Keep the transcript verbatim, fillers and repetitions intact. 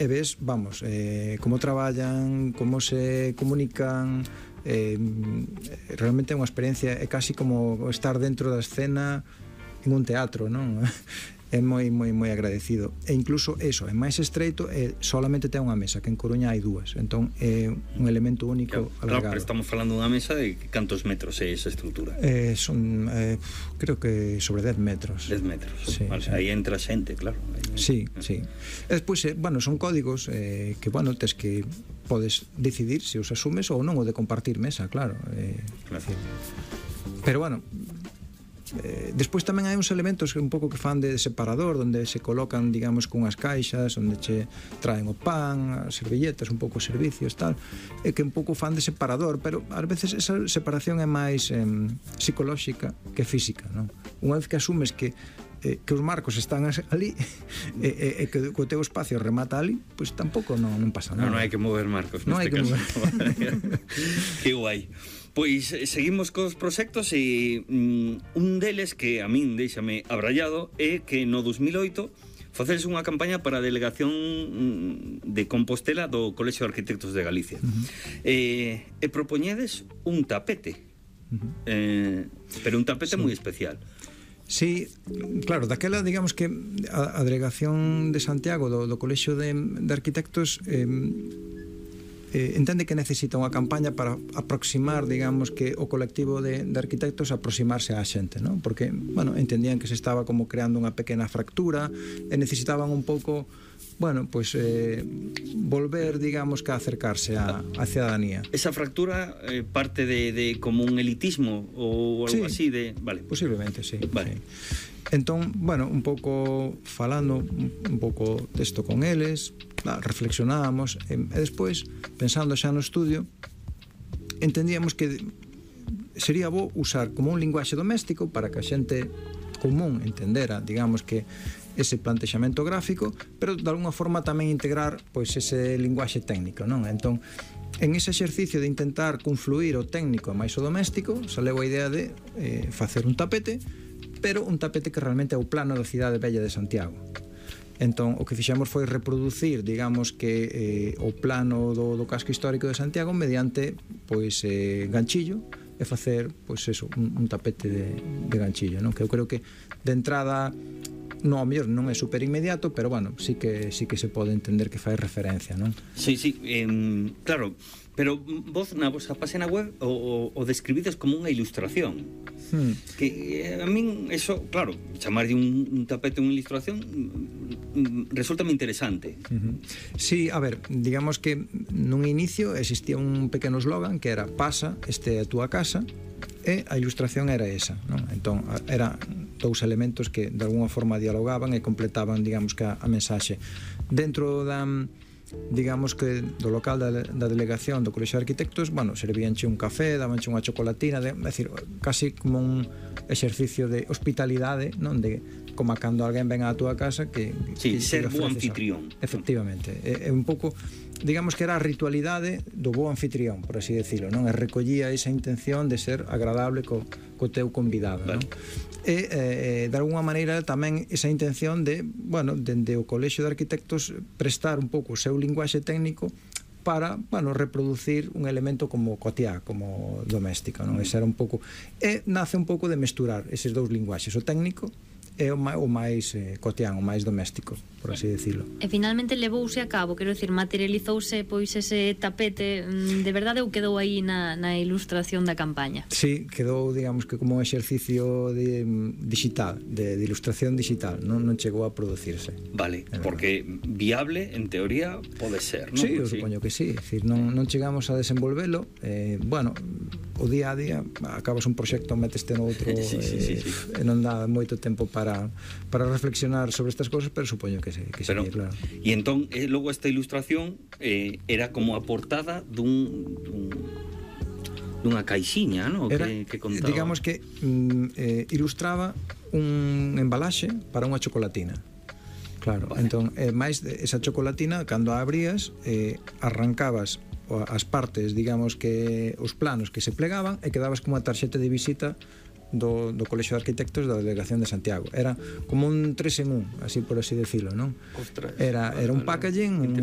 e ves, vamos, eh, como traballan, como se comunican, eh, realmente é unha experiencia, é casi como estar dentro da escena en un teatro, non? É moi, moi, moi agradecido. E incluso eso, é máis estreito, e solamente ten unha mesa, que en Coruña hai dúas, entón é un elemento único claro, alargado. Claro, pero estamos falando dunha mesa de cantos metros é esa estrutura? Eh, son, eh, creo que sobre dez metros. dez metros, sí, vale, sí. Aí entra xente, claro. Aí... Sí, sí. E despois, eh, bueno, son códigos eh, que, bueno, tes que podes decidir se os asumes ou non, o de compartir mesa, claro. Eh, claro. Decir, pero, bueno, Eh, despois tamén hai uns elementos un pouco que fan de separador, onde se colocan, digamos, cunhas caixas, onde che traen o pan, as servilletas, un pouco os servicios, tal, e que un pouco fan de separador, pero ás veces esa separación é máis eh, psicolóxica que física, non? Unha vez que asumes que eh, que os marcos están ali e, e, e que o teu espacio remata ali, pois pues tampouco non, non pasa nada. Non, non hai que mover marcos non hai que caso. mover. Que guai. Pois seguimos cos proxectos e mm, un deles que a min deixame abrallado é que no dos mil oito facedes unha campaña para a delegación de Compostela do Colexio de Arquitectos de Galicia. Uh-huh. eh, e propoñedes un tapete, uh-huh. eh, pero un tapete sí. moi especial. Sí, claro, daquela, digamos que a, a delegación de Santiago do, do Colexio de, de Arquitectos eh, eh, entende que necesita unha campaña para aproximar, digamos, que o colectivo de, de arquitectos aproximarse á xente, non? Porque, bueno, entendían que se estaba como creando unha pequena fractura e necesitaban un pouco, bueno, pois pues, eh, volver, digamos, que a acercarse á, á cidadanía. Esa fractura eh, parte de, de como un elitismo ou algo sí, así de... Vale. Posiblemente, sí. Vale. Sí. Entón, bueno, un pouco falando un pouco desto con eles, reflexionábamos e, e despois, pensando xa no estudio, entendíamos que sería bo usar como un linguaxe doméstico para que a xente común entendera, digamos, que ese plantexamento gráfico, pero de alguna forma tamén integrar pois ese linguaxe técnico, non? Entón, en ese exercicio de intentar confluir o técnico máis o doméstico, saleu a idea de eh, facer un tapete, pero un tapete que realmente é o plano da cidade bella de Santiago. Entón, o que fixemos foi reproducir, digamos que eh, o plano do, do casco histórico de Santiago mediante, pois, eh, ganchillo, e facer, pois, eso, un, un tapete de, de ganchillo, non? Que eu creo que de entrada no, ao mellor non é super inmediato, pero bueno, sí que sí que se pode entender que fai referencia, non? Sí, sí, eh, claro, pero vos na vosa página web o, o, o describides como unha ilustración. Hmm. Que eh, a min eso, claro, chamarlle un, un tapete unha ilustración resulta moi interesante. Uh-huh. Sí, a ver, digamos que nun inicio existía un pequeno eslogan que era pasa, este é a túa casa, e a ilustración era esa, non? Entón, era dous elementos que de alguna forma dialogaban e completaban, digamos, que a, a mensaxe. Dentro da, digamos que do local da, da delegación do Colexio de Arquitectos, bueno, servíanche un café, dabanche unha chocolatina, de, é dicir, casi como un exercicio de hospitalidade, non? De como cando alguén ven á túa casa que, sí, que ser bo anfitrión. Efectivamente, é, é un pouco, digamos que era a ritualidade do bo anfitrión, por así decirlo, non? E recollía esa intención de ser agradable co, co teu convidado, vale. Non? E, eh, de alguna maneira, tamén esa intención de, bueno, dende o Colexio de Arquitectos prestar un pouco o seu linguaxe técnico para, bueno, reproducir un elemento como cotiá, como doméstico, non? Ese era un pouco, e nace un pouco de mesturar eses dous linguaxes, o técnico é o máis eh, cotián, o máis doméstico, por así decirlo. E finalmente levouse a cabo, quero dicir, materializouse pois ese tapete de verdade ou quedou aí na, na ilustración da campaña? Sí, quedou, digamos, que como un exercicio de, digital, de, de ilustración digital, non, non chegou a producirse. Vale, porque viable, en teoría, pode ser, non? Sí, eu sí. supoño que sí, é dicir, non, non chegamos a desenvolvelo, eh, bueno, o día a día acabas un proxecto, meteste no outro, sí, sí, sí, sí. E non dá moito tempo para para reflexionar sobre estas cosas, pero supoño que sí, que pero, sí, claro. E entón, eh, logo esta ilustración eh, era como a portada dun, dun dunha caixiña, ¿no? Era, que, que contaba. Digamos que mm, eh, ilustraba un embalaxe para unha chocolatina. Claro, vale. Entón, eh, máis esa chocolatina, cando a abrías, eh, arrancabas as partes, digamos que os planos que se plegaban e quedabas como unha tarxeta de visita do, do Colexio de Arquitectos da Delegación de Santiago. Era como un tres en un, así por así decirlo, non? Ostras, era, era un packaging, un